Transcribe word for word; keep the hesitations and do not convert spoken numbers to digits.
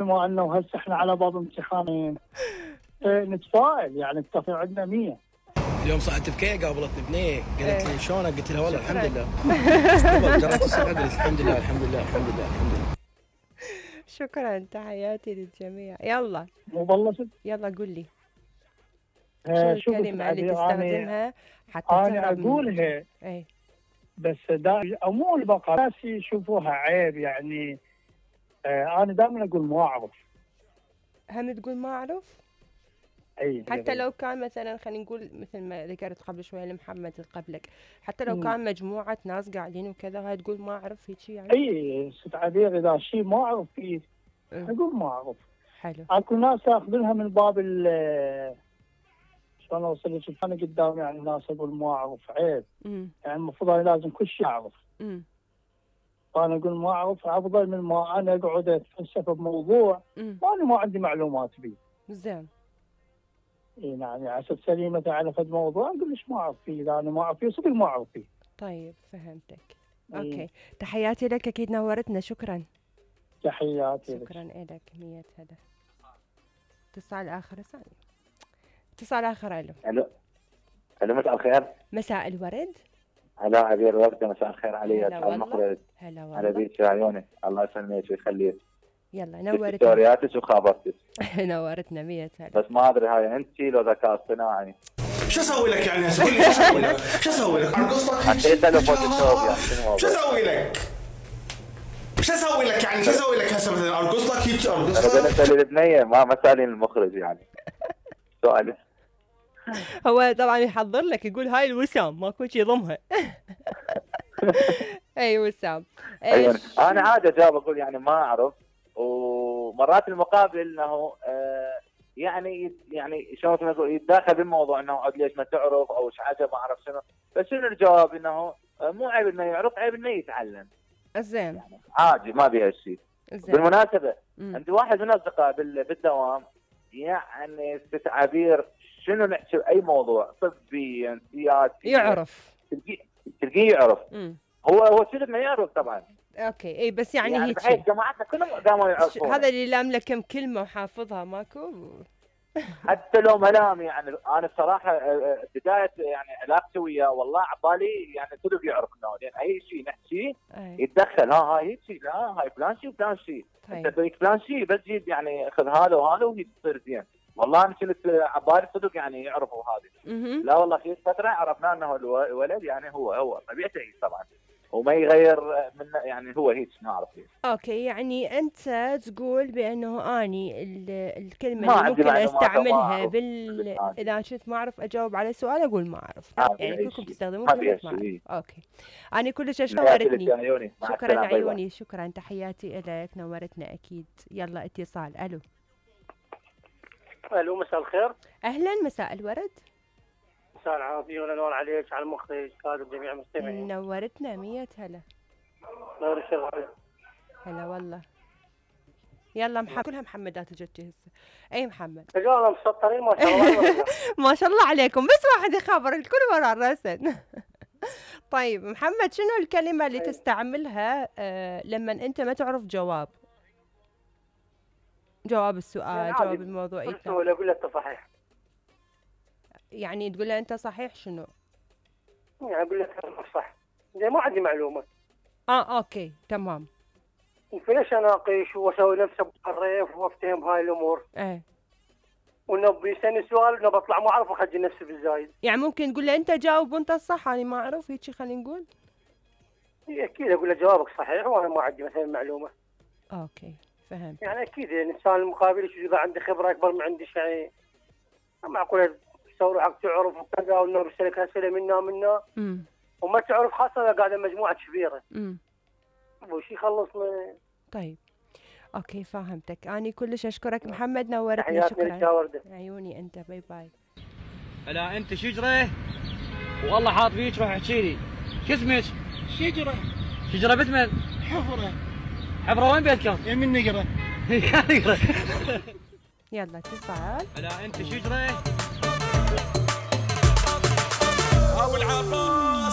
بما انه هسه احنا على باب امتحانين اه نتفائل يعني التفاؤل عندنا مية. اليوم صعدت بكي قابلتني بنيه قالت لي شلونك؟ قلت لها والله الحمد لله. جرعت الصدر قلت الحمد لله الحمد لله الحمد لله الحمد لله. شكرا، تحياتي للجميع. يلا مو بلشت؟ يلا قول لي اه شو الكلمة اللي تستخدمها حتى أنا تهرب من أقولها اي بس دا مو البقاء ناس يشوفوها عيب يعني. آه أنا دائما أقول ما أعرف. هم تقول ما أعرف؟ أي حتى لو كان مثلا خلينا نقول مثل ما ذكرت قبل شوي لمحمد قبلك، حتى لو مم. كان مجموعة ناس قاعدين وكذا هاي تقول ما أعرف هيك يعني؟ أي ست عبير إذا شيء ما أعرف فيه أقول ما أعرف. حلو. اكو ناس ياخذونها من باب ال شلون اوصل لك انا قدام يعني ناس اقول ما اعرف عيب. امم يعني المفروض انا لازم كل شيء اعرف. امم فانا اقول ما اعرف افضل من ما انا اقعد اتفلسف بموضوع وانا ما عندي معلومات فيه. زين. اي نعم يعني اساس سليمه على فد موضوع اقول ليش ما اعرف فيه، اذا انا ما اعرف فيه صدق ما اعرف فيه. طيب فهمتك. إيه. اوكي تحياتي لك، اكيد نورتنا. شكرا. تحياتي شكرا لك. مية هلا. اتصال اخر ثاني. اتصال اخر. الو الو الو مساء الخير. مساء الورد. هلا عبير ورده، مساء الخير علي. هلا والله. المخرج. هلا والله. على بيك عيوني، الله يسلمك ويخليك. يلا نورتنا. ستورياتك وخابرتك. نورتنا مية هلا. بس ما ادري هاي انت لو ذكاء اصطناعي. شو اسوي لك يعني هسه؟ شو اسوي لك؟ شو اسوي لك؟ ارقص حطيت له فوتوشوب يعني شو اسوي لك؟ شو اسوي لك يعني؟ شو اسوي لك هسه مثلا ارقص لك هيك ارقص انا بنسال البنيه ما ما سالين المخرج يعني. سؤال هو طبعا يحضر لك يقول هاي الوسام ماكو شيء يضمها. اي وسام. ايوه انا عادي اجاوب اقول يعني ما اعرف، ومرات المقابل انه آه يعني يعني شلون نقول يتداخل بالموضوع انه عاد ليش ما تعرف او ايش حاجه ما اعرف شنو، بس شنو الجواب انه مو عيب انه يعرف، عيب انه يتعلم. زين. يعني عادي ما بيها شيء. بالمناسبه مم. عندي واحد من الاصدقاء بالدوام يعني ست عبير شنو نحكي باي موضوع طبي سياسي يعرف، تلقيه تلقيه يعرف. مم. هو هو شنو ما يعرف طبعا. اوكي اي بس يعني, يعني هيك بحيث جماعتنا كلهم قاموا يعرفون. هذا اللي لام له كم كلمه وحافظها ماكو. حتى لو ملام يعني انا بصراحه بدايه يعني علاقتي وياه والله عبالي يعني كله يعرف انه لان اي شيء نحكيه يتدخل. ها هاي هيك شيء، لا هاي فلان شيء وفلان شيء. طيب. انت تريد فلان شيء بس جيب يعني خذ هذا وهذا وهي تصير زين. والله انا كنت عبالي صدق يعني يعرفوا هذه. لا والله في فتره عرفنا انه الولد يعني هو هو طبيعته هيك طبعا وما يغير من يعني هو هيك نعرف هيك. اوكي يعني انت تقول بانه اني الكلمه اللي ممكن استعملها بال اذا شفت ما اعرف اجاوب على سؤال اقول ما اعرف. يعني كلكم تستخدمون كلمه ما اعرف. اوكي انا كلش نورتني. شكرا عيوني. شكرا تحياتي لك نورتنا اكيد. يلا اتصال. الو الو مساء الخير. اهلا مساء الورد. مساء العافية والأنوار عليك على المخرج كادر جميع المستمعين. نورتنا مية هلا. نور الشرف. هلا والله. يلا محمد كلها محمدات جت هسه. اي محمد. رجال مسطرين ما شاء الله. ما شاء الله عليكم بس واحد يخابر الكل ورا الرسن. طيب محمد شنو الكلمة اللي تستعملها آه لما انت ما تعرف جواب؟ جواب السؤال، جواب الموضوع. ولا اقول لك صحيح. يعني تقول له انت صحيح شنو؟ يعني اقول لك صح زي ما عندي معلومه. اه اوكي تمام. فليش اناقش واسوي نفسي بالريف وافتهم هاي الامور؟ ايه وانه بيسالني سؤال انه بطلع ما اعرف واخجل نفسي بالزايد. يعني ممكن تقول له انت جاوب وانت الصح انا ما اعرف هيك خلينا نقول؟ اكيد اقول له جوابك صحيح وانا ما عندي مثلا معلومه. اوكي فهمت. يعني اكيد الانسان المقابل اذا عنده خبره اكبر من عندي يعني معقوله تسوي حق تعرف وكذا وانه بيسالك اسئله منا منا امم وما تعرف خاصه اذا قاعده مجموعه كبيره. امم وش يخلصنا. طيب اوكي فهمتك. اني كلش اشكرك محمد نورتنا. شكرا عيوني انت. باي باي. هلا انت شجره والله حاط فيك روح احكي لي شو اسمك؟ شجره. شجره بتمن؟ حفره. حفره وين بيتكم؟ يمين نقره. نقره. يلا اتصال. هلا انت شجره او العطاء